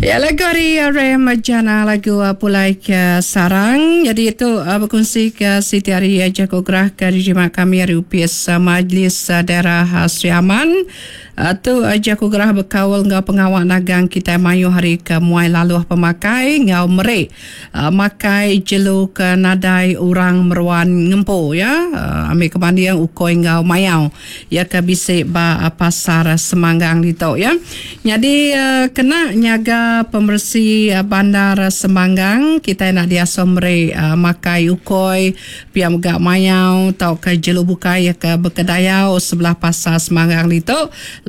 Ya lagu ari Rem Jana lagu Pulai ke Sarang. Jadi itu bekunsi ke siti ari jaku gerah ke diterima kami ari Opis Majlis Daerah Sri Aman. Tu jaku gerah bekaul enggau pengawa nagang kitai mayuh ari ke muai laluh pemakai enggau meri makai jelu ke nadai orang meruan ngempu ya. Ambi ke banding ukoi enggau mayau iya ke bisi ba pasar Semanggang ditu ya. Nyadi kena nyaga pemeresi bandar Semanggang kitai enda diasuh meri makai ukoi Pia mega mayau tauka jelu bukai iya ke bekedayau sebelah pasar Semanggang ditu.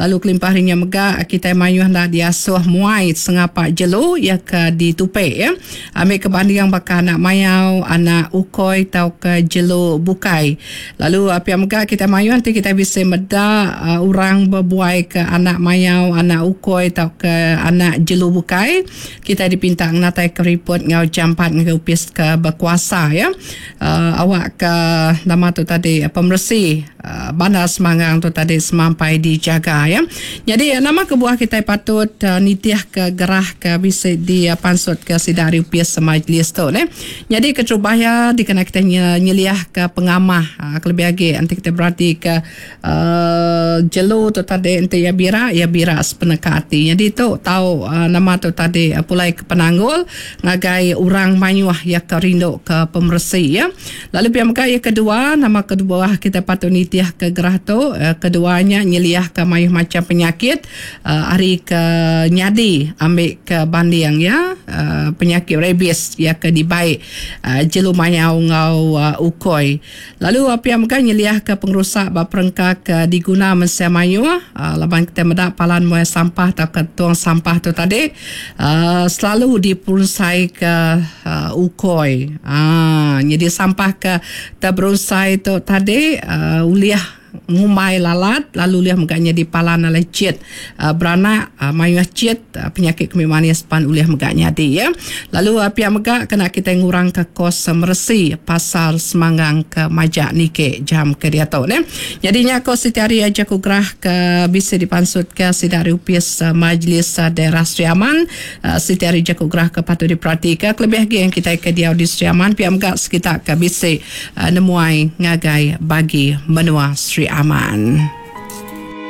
Lalu kelimpah ari nya mega kitai mayuh enda diasuh muai sengapa jelu iya ke ditupi iya. Ambi ke banding baka anak mayau, anak ukoi tauka jelu bukai. Lalu pia mega kitai mayuh enti kitai bisi meda orang bebuai ke anak mayau, anak ukoi tauka anak jelu bukai. Kitai dipinta ngenataika riput enggau jampat ngagai opis ke bekuasa iya awakka nama tu tadi pemeresi bandar Semanggang tu tadi semampai dijaga iya. Nyadi nama kebuah kitai patut nitihka gerah ke bisi dipansutka sida ari opis majlis tu neh. Nyadi keterubah iya dikena kitai nyeliahka pengamah kelebih agi enti kitai beratika Jelu tu tadi enti iya bira, iya bira sepeneka ati. Nyadi tu tau nama tu tadi pulai ke penanggul ngagai orang mayuh iya ke rindu ke pemeresi iya. Lalu pia mega iya kedua, nama kebuah kitai patut nitih ke gerah tu, kedua nya nyeliahka mayuh macham penyakit ari ke nyadi ambi ke banding iya penyakit rabies iya ke dibai jelu mayau enggau ukoi. Lalu pia mega nyeliahka pengerusak ba perengka ke diguna mensia mayuh laban kitai meda palan muai sampah tauka tong sampah tu tadi selalu diperunsaika ukoi. Nyadi sampah ke teberunsai tu tadi ulih ngumbai lalat lalu ulih mega nyadi palan alai chit beranak mayuh chit penyakit kemi manis pan ulih mega nyadi ya. Lalu pia mega kena kitai ngurangka kos meresi pasar Semanggang ke majak niki jam ke diatu neh. Nyadi nya ko siti hari jaku gerah ke bisi dipansutka sida ari opis Majlis Daerah Sri Aman siti hari jaku gerah ke patut diperatika kelebih agi yang kitai ke diau di Sri Aman pia mega sekita ke bisi nemuai ngagai bagi menua Sri Aman.